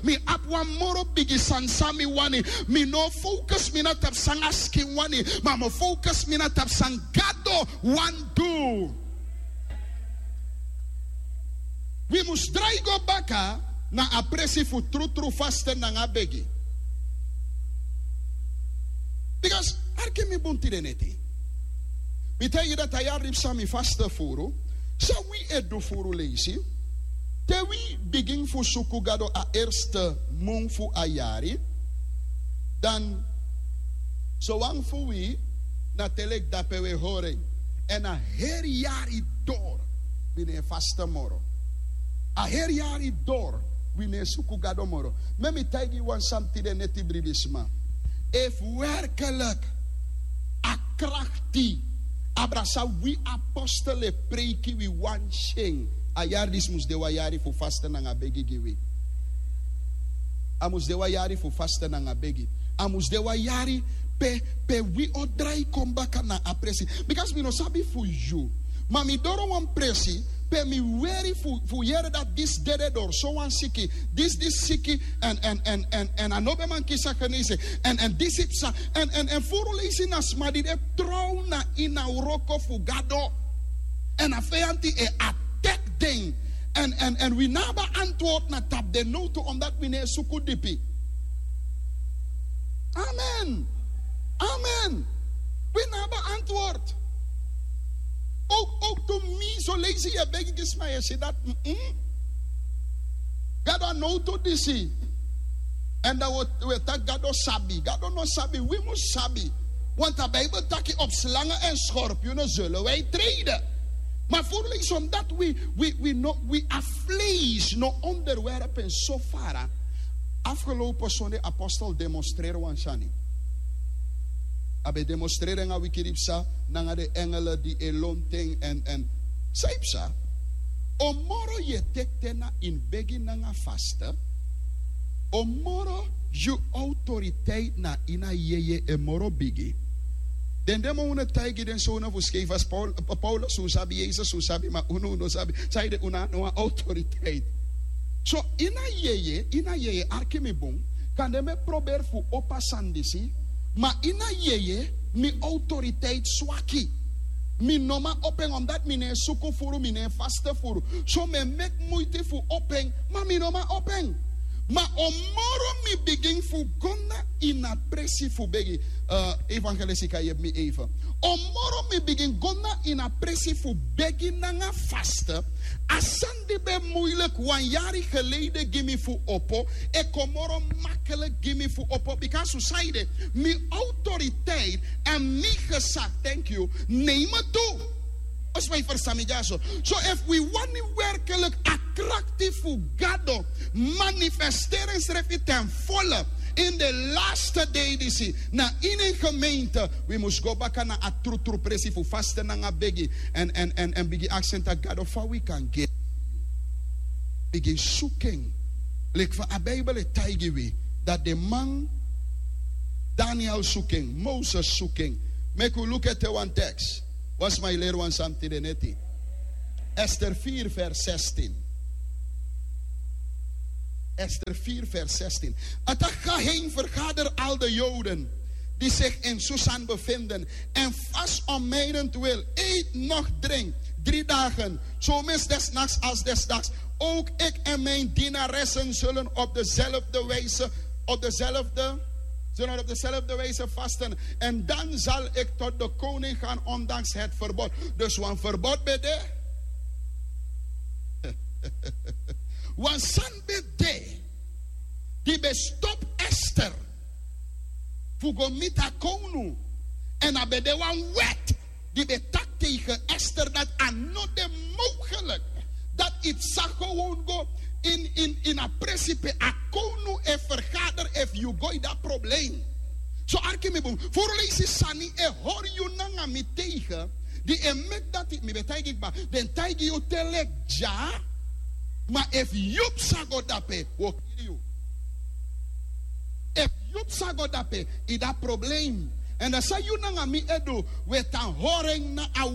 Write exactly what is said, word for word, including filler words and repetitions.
Mi abi wan moro bigi sani san mi wani. Mi no o focus mi na tapu san a skin wani, ma mi o focus mi na tapu san Gado wani du. Wi mus drai go baka na a presi fu trutru fasten nanga begi. Bikasi arki mi bun tide neti. Mi taigi yu dati a yari disi san mi fasten furu. San wi e du furu leisi? Te wi bigin fu suku Gado a erste mun fu a yari, dan sowan fu wi na te leki dape wi e hori en. Èn a heri yari doro wi no e fasten moro. A heri yari doro wi no e suku Gado moro. Meki mi taigi yu wan sani tide neti, bribisma. Efu werkelijk a krakti abra san wi apostel e preiki, wi wani si en, a yari disi mus de wan yari fu fasten nanga begi gi wi. A mus de wan yari fu fasten nanga begi. A mus de wan yari pe, pe wi o drai kon baka na a presi. Bikasi mi no sabi fu yu, ma mi doro wan presi pe mi weri fu, fu yere dati disi dede doro sowan siki, disi, disi siki, èn, èn, èn, èn, èn a no ben man kisi a genezing, èn, èn disi psa, èn, èn, èn furu leisi na sma di de tron na ini a wroko fu Gado. Èn a feyanti e attack den. Èn, èn, èn wi no abi antwoord na tapu den nowtu, omdat wi no e suku dipi. Amen. Amen. Wi no abi antwoord. Ook, ook toen mi zo leisi yu e begi gi sma, yu e si dati, mm-mm. Gado a nowtu disi. Èn dan wi o, wi e taki Gado sabi. Gado no sabi, wi mus sabi. Want a Bijbel taki op slangen en schorpioenen zullen wij treden. Ma furu leisi omdat wi, wi, wi no, wi a vlees no onderwerp en so fara. Afgelopen zonde apostel demonstreri wan sani. A ben demonstreri nanga wiki di psa, nanga den engelen di e lontu en, èn, èn san yu psa. On moro yu e teki ten na ini begi nanga fasten, on moro yu autoriteit na ini a yeye e moro bigi. Den demon un e taigi den sowna fu skei fasi, Paul-, Paulus un sabi, Jesus un sabi, ma unu un no sabi. Sanede? Un no abi no wan autoriteit. So ini a yeye, ini a yeye, arki mi bun. Kande mi e proberi fu opo a sani disi, ma ini a yeye mi autoriteit swaki. Mi no man opo en, omdat mi no e suku furu, mi no e fasten furu. So mi e meki muiti fu opo en, ma mi no man opo en. Ma on moro mi bigin fu go na ini a presi fu begi, eh, evangelist, yu kan yepi mi even. On moro mi bigin go na ini a presi fu begi nanga fasten, a sani di ben moeilijk wan yari geleden gi mi fu opo, e kon moro makkelijk gi mi fu opo. Bikasi sanede? Mi autoriteit èn mi gezag, thank you, neem me toe. Als wij verstaan, mi dyaso. So efu wi wani werkelijk a krakti fu Gado manifesteri ensrefi ten volle in de laatste dei disi na ini en gemeente, wi mus go baka na a trutru presi fu fasten nanga begi. Èn, èn, èn, èn bigin aksi en taki: Gado, fa wi kan gi? Bigin suku en. Leki fa a Bijbel e taigi wi, dati den man, Daniel suku en, Moses suku en. Meki wi luku ete wan teks. Wan sma e leri wan sani tide neti. Ester vier vers zestien. Ester vier vers zestien. Het geheim vergader al de Joden die zich in Susan bevinden en vast om mijnentwil eet noch drink drie dagen, zomers des nachts als des dags. Ook ik en mijn dienaressen zullen op dezelfde wijze, op dezelfde, zullen op dezelfde wijze vasten. En dan zal ik tot de koning gaan, ondanks het verbod. Dus wan verbod ben de. Wan sani ben de di ben stop Ester fu go miti a kownu. Èn a ben de wan wet di ben taki tegen Ester dati a no de mogelijk dati yu sa gewoon go in, in, in a presi pe a kownu e vergader. Efu yu go ini a probleem. So arki mi bun, furu leisi sani e hori yu nanga mi tegen, di e meki dati mi ben taigi kba, den taigi yu te leki dya, ma efu yu psa go dape, wi o kiri yu. Efu yu psa go dape, yu de a probleem. Èn dan san yu nanga mi e du, wi e tan hori en na a